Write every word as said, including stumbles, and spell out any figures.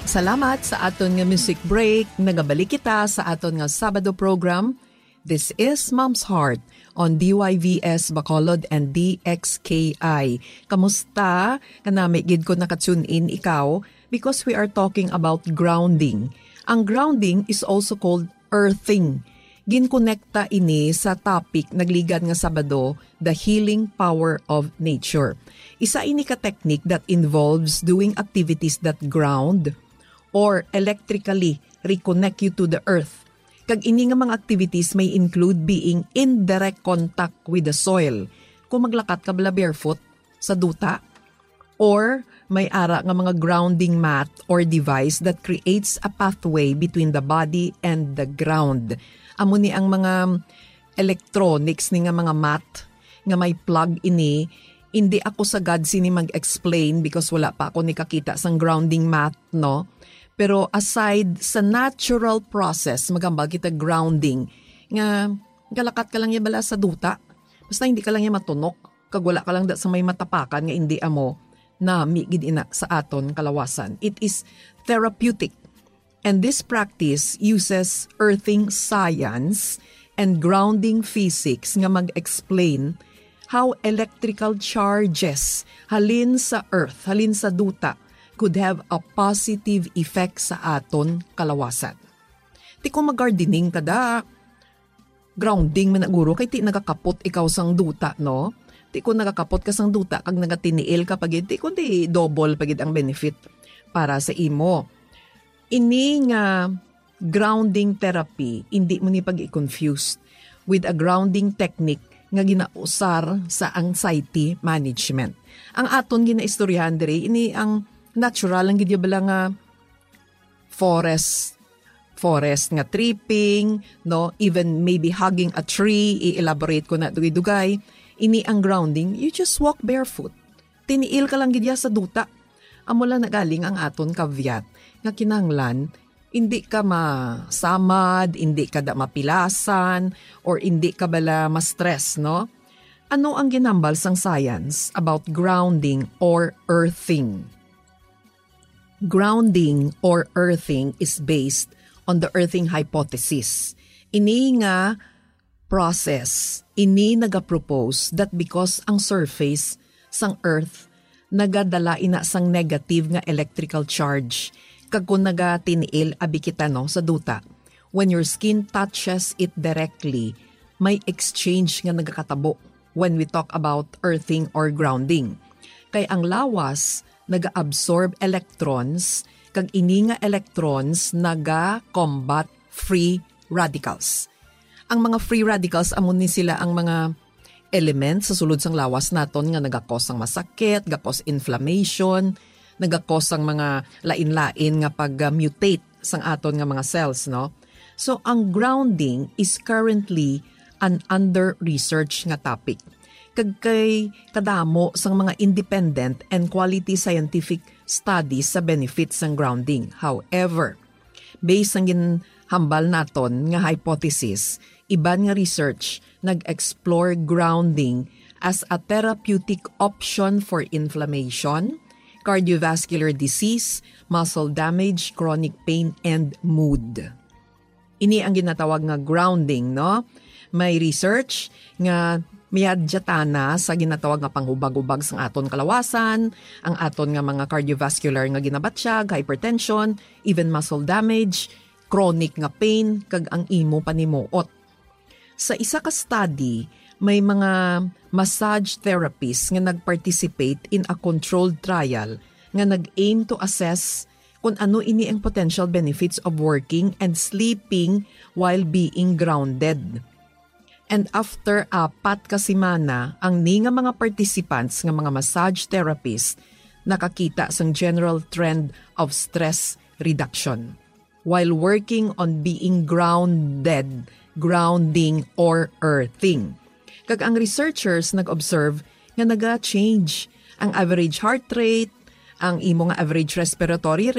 Salamat sa aton nga music break. Nagabalik kita sa aton nga Sabado program. This is Mom's Heart on D Y V S Bacolod and D X K I. Kamusta? Kanami gid ko naka-tune in ikaw because we are talking about grounding. Ang grounding is also called earthing. Ginkonekta ini sa topic nagligad nga Sabado, the healing power of nature. Isa ini ka technique that involves doing activities that ground or electrically reconnect you to the earth. Kag ini nga mga activities may include being in direct contact with the soil. Kung maglakat ka bala barefoot sa duta, or may ara nga mga grounding mat or device that creates a pathway between the body and the ground. Amo ni ang mga electronics ni nga mga mat nga may plug ini. Hindi ako sagad sini mag-explain because wala pa ako nikakita sang grounding mat, no? Pero aside sa natural process, magambal kita grounding nga galakat ka lang ya bala sa duta. Basta hindi ka lang ya matunok, kag wala ka lang da sa may matapakan nga hindi amo, nami gid ina sa aton kalawasan. It is therapeutic. And this practice uses earthing science and grounding physics nga mag-explain how electrical charges halin sa earth, halin sa duta, could have a positive effect sa aton kalawasan. Ti kung mag-gardening ka da, grounding man na guro, kay ti nagakapot ikaw sang duta, no? Ti kung nagakapot ka sang duta kag nagatiniil ka pa gid, ti kundi double pa gid ang benefit para sa imo. Ini nga grounding therapy, hindi mo ni pag-i-confuse with a grounding technique nga ginausar sa anxiety management. Ang aton ginaistoryahan diri, ini ang natural lang gid ya bala nga forest, forest nga tripping, no? Even maybe hugging a tree, i-elaborate ko na dugay-dugay. Ini ang grounding, you just walk barefoot. Tiniil ka lang gid ya sa duta. Amo lang nagaling ang aton caveat nga kinahanglan hindi ka masamad, hindi ka da mapilasan, or hindi ka bala ma-stress, no? Ano ang ginambal sang science about grounding or earthing? Grounding or earthing is based on the earthing hypothesis. Ini nga process, ini nagapropose that because ang surface sang earth nagadala ina sang negative nga electrical charge, kag kon nagatiniil abi kita, no, sa duta, when your skin touches it directly, may exchange nga nagakatabo when we talk about earthing or grounding. Kay ang lawas naga-absorb electrons, kag ini nga electrons naga-combat free radicals. Ang mga free radicals, amo ni sila ang mga element sa sulod sang lawas naton nga nagakos sang masakit, gakos inflammation, nagakos sang mga lain-lain nga pag-mutate sang aton nga mga cells, no? So, ang grounding is currently an under-research nga topic. Kag kay kadamo sang mga independent and quality scientific studies sa benefits sang grounding. However, based sang ginhambal naton nga hypothesis, iban nga research nag-explore grounding as a therapeutic option for inflammation, cardiovascular disease, muscle damage, chronic pain, and mood. Ini ang ginatawag nga grounding, no? May research nga miyadyatana sa ginatawag nga panghubag-ubag sang aton kalawasan, ang aton nga mga cardiovascular nga ginabatyag, hypertension, even muscle damage, chronic nga pain, kag ang imo panimuot. Sa isa ka study, may mga massage therapists nga nag-participate in a controlled trial nga nag-aim to assess kung ano ini ang potential benefits of working and sleeping while being grounded. And after apat ka semana, ang ni nga mga participants nga mga massage therapists nakakita sang general trend of stress reduction while working on being grounded, grounding, or earthing. Kag ang researchers nag-observe nga naga-change ang average heart rate, ang imo nga average respiratory